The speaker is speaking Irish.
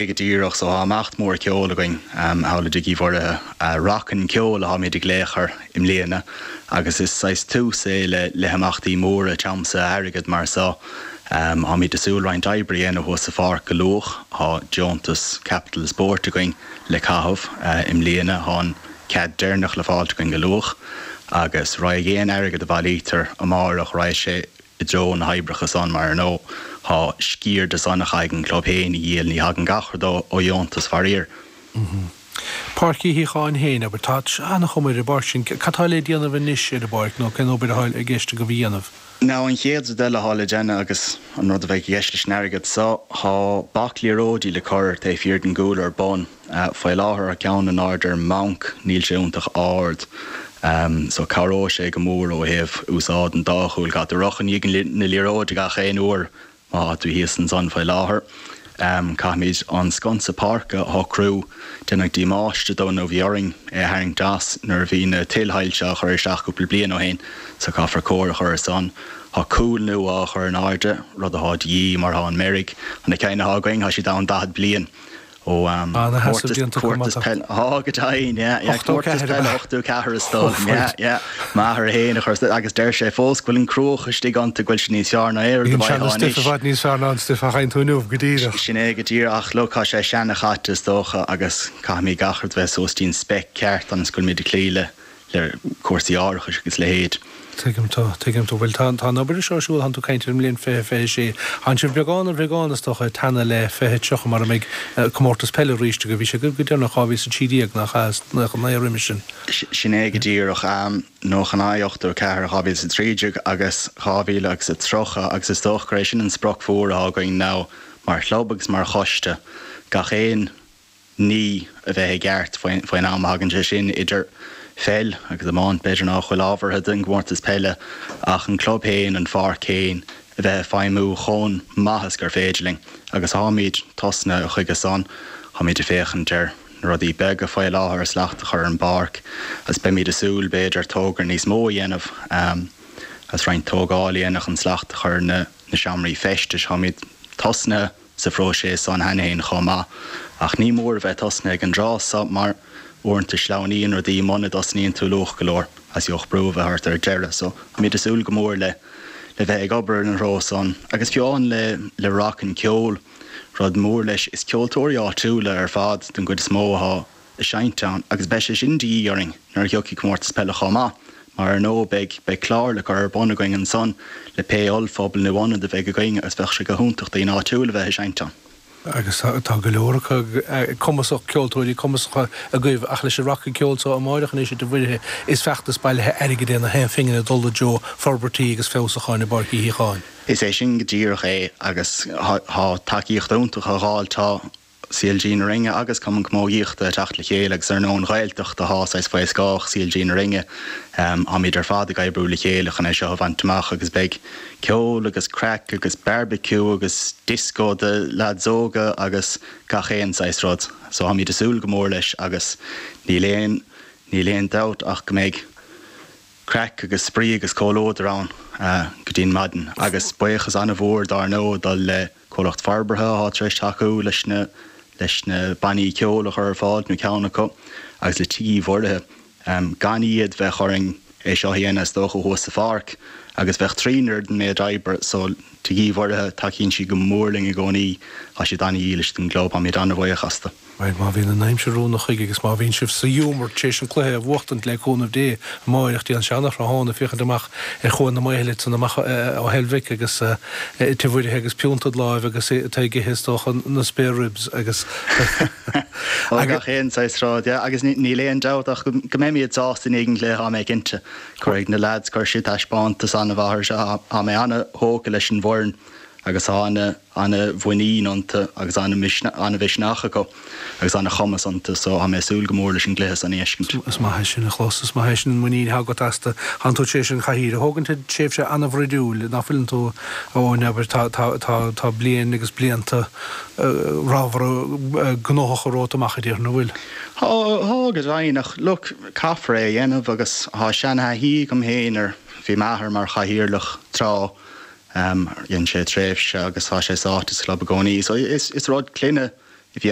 Go díreach, so tá imeacht mór ceoil againn thall i dTigh Uí Mhuirithe, Rac an Ceol atáimid ag glaoch air i mbliana agus is saghas tús é le le himeachtaí móra tiomsaithe airgid mar so. Táimid ag súil roinnt oibre a dhéanamh thuas sa pháirc go luath, tá deontas Capital Sport againn le caitheamh i mbliana, tá an cead deireanach le fáilt againn go luath agus raghaidh aon airgead a bhailítear amáireach, raghaidh sé i dtreo na hoibreacha san mar ar ndóigh tá sciar de san a chaithfidh an club féin a dhíol, ní thagann gach rud ó dheontas faraor. Páirc Uí Shíocháin féin, abair, tá an-chuma ar an bpáirc sin, cad tá le déanamh anois ar an bpáirc nó cén obair atá i gceist agaibh a dhéanamh? Now an chéad rud eile atá le déanamh agus an rud a bheidh i gceist leis an airgead so, tá bac liathróidí le cur taobh thiar den gcúl ar bun. Faoi láthair tá ceann in airde ar mbanc, níl sé iontach ard so cabhróidh sé go mór ó thaobh úsáid an dá chúl. Caithfidh tú rith i ndiaidh na liathróide gach aon uair má tá tú thíos ansan faoi láthair. Caithfimid an sconsa páirce a shocrú, déanadh damáiste dó nó bhí orainn é a tharraingt as nuair a bhí na tuilshoilse á chur isteach cúpla bliain ó shin so caithfear cóir a chur ar san. Tá cúl nua á chur in airde, rud atá de dhíth mar tá an meirg, na cinn atá againn, tá siad ann 40 bliain. Ó Ana-sheasamh déanta acu má tá. Tá, go deimhin, yeah, yeah. Comórtas peile 84 is dóigh liom, yeah, yeah. M'athair féin a chuir, agus deir sé fós go bhfuil an cruach istigh iontu, go bhfuil sé níos fearr ná aon rud a bhí an bhfaighfeá seana-stuif i bhfad níos fearr ná an stuif a fhaigheann tú inniu, go díreach. Sin é go díreach, ach look, tá sé seana-chaite is dócha agus caithfimid gach rud a bheith suas dtí'n spec ceart ionas go bhfuilimid ag cloí le le cúrsaí árachais agus a leithéid. Tuigim tú, tuigim tú. Bhuel, tá, tá an obair seo ar siúl, tánn tú ag caint ar an mbliain 2026. Tánn sibh beagán ar bheagán, is dócha, ag teannadh le 2030 mar a mbeidh comórtas peile arís agaibh. Bhí sé agaibh go deireanach 2013, nach ea, is 99 roimis sin. Sin é go díreach. 99, 84, 2013 agus 2030 agus is dócha gur é sin an sprioc mhór atá againn now mar chlub agus mar choiste, gach aon ní a bheith i gceart faoin am a thagann sé sin, idir pheil agus iomáint, b'fhéidir nach bhfuil ábhartha don gcomórtas peile, ach an club féin, an pháirc féin, a bheith ag feidhmiú chomh maith is gur féidir linn. Agus táimid tosnaithe chuige san, táimid ag féachaint ar na rudaí beaga faoi láthair, slacht a chur ar an bpáirc, agus beimid ag súil, b'fhéidir, togra níos mó a dhéanamh, agus roinnt tógáil a dhéanamh chun slacht a chur ar na seomraí feistis. Táimid tosnaithe. sa phróiseas san cheana féin chomh maith. Ach ní mór a bheith tosnaithe ag an dtráth so mar uaireanta sleamhnaíonn rudaí muna dtosnaíonn tú luath go leor agus gheobhaidh brú a bheith ort ar deireadh. So táimid ag súil go mór le le bheith ag obair ina threo san. Agus fiú amháin le le Rac an Ceol, rud mór leis, is ceoltóirí áitiúla ar fad den gcuid is mó atá ag seinnt ann agus beidh sé sin de dhíth orainn nuair a thiocfaidh comórtas peile chomh maith mar ar ndóigh beidh beidh clár le cur ar bun againn ansan le pé ollphuball nó ionad a bheidh againn agus bheadh sé go hiontach daoine áitiúil a bheith ag seinnt ann. Agus tá go leor acu cumasach, ceoltóirí cumasacha agaibh ach leis an Rac an Ceol so amáireach anois i dTigh Mhuirithe is feachtas bailithe airgid é na haon phingin ag dul i dtreo forbairtí agus feabhsúcháin i bPáirc Uí Shíocháin. Is é sin go díreach é agus tá tacaíocht iontach á fháil, tá CLG na Rinne agus Cumann Camógaíochta ag teacht le chéile agus ar ndóigh an Ghaeltacht atá saghas faoi scáth CLG na Rinne. Táimid ar fad ag oibriú le chéile chun é seo a bhaint amach agus beidh ceol agus craic agus bearbaiciú agus dioscó do leaids óga agus gach aon saghas rud. So táimid ag súil go mór leis agus níl aon, níl aon dabht ach go mbeidh craic agus spraoi agus comhluadar ann go dtí'n maidin. Agus buíochas an-mhór dár ndóigh ag dul le Comhlacht forbartha atá tar éis tacú leis na leis na bannaí ceoil a chur ar fáil, nó ceann acu, agus le Tigh Uí Mhuirithe. Gan iad, bheadh orainn é seo a dhéanamh is dócha thuas sa pháirc agus bheadh trína oiread an méid oibre. So, Tigh Uí Mhuirithe, tacaíonn siad go mór linn i gcónaí, tá siad an-dhílis don gclub, táimid an-bhuíoch astu. Bhuel, má bhíonn an aimsir rúnda chuige agus má bhíonn sibh sa ghiúmar tar éis an cluiche a bhuachtaint le cúnamh Dé amáireach, déan seana-thráthnóna féachaint amach ar Chuan na Maothaile ansan amach ó Heilbhic agus Tigh Mhuirithe agus piúnta id láimh agus tú ag ithe is dócha na spare ribs agus Ó, gach aon saghas rud, yeah, agus níl aon dabht ach go mbeimid sásta i ndiaidh an chluiche, tá mé cinnte. Cuirfidh na lads, cuirfidh siad taispeántas an-mhaith ar seo, tá mé an-thógtha leis an bhfoireann agus tá ana. ana-mhuinín iontu agus ana-mhisneach acu agus ana-chumas iontu so tá mé ag súil go mór leis an gcluiche san a fheiscint. Is maith é sin a chlos, is maith é sin an muinín atá agat astu. Tánn tú tar éis an chathaoir a thógaint i dtréimhse ana-bhroidiúil, ná fuileann tú, a Eoin, abair, tá, tá, tá, tá bliain agus blianta ramhara gnóthacha romhat amach, a déarfainn, an bhfuil? Tá, tá go deimhin ach look, caithfear é a dhéanamh agus tá seana-thaithí agam féin ar, bhí m'athair mar chathaoirleach tráth, Dhein sé tréimhse agus tá sé sáite sa chlub i gcónaí. So is rud clainne. Bhí.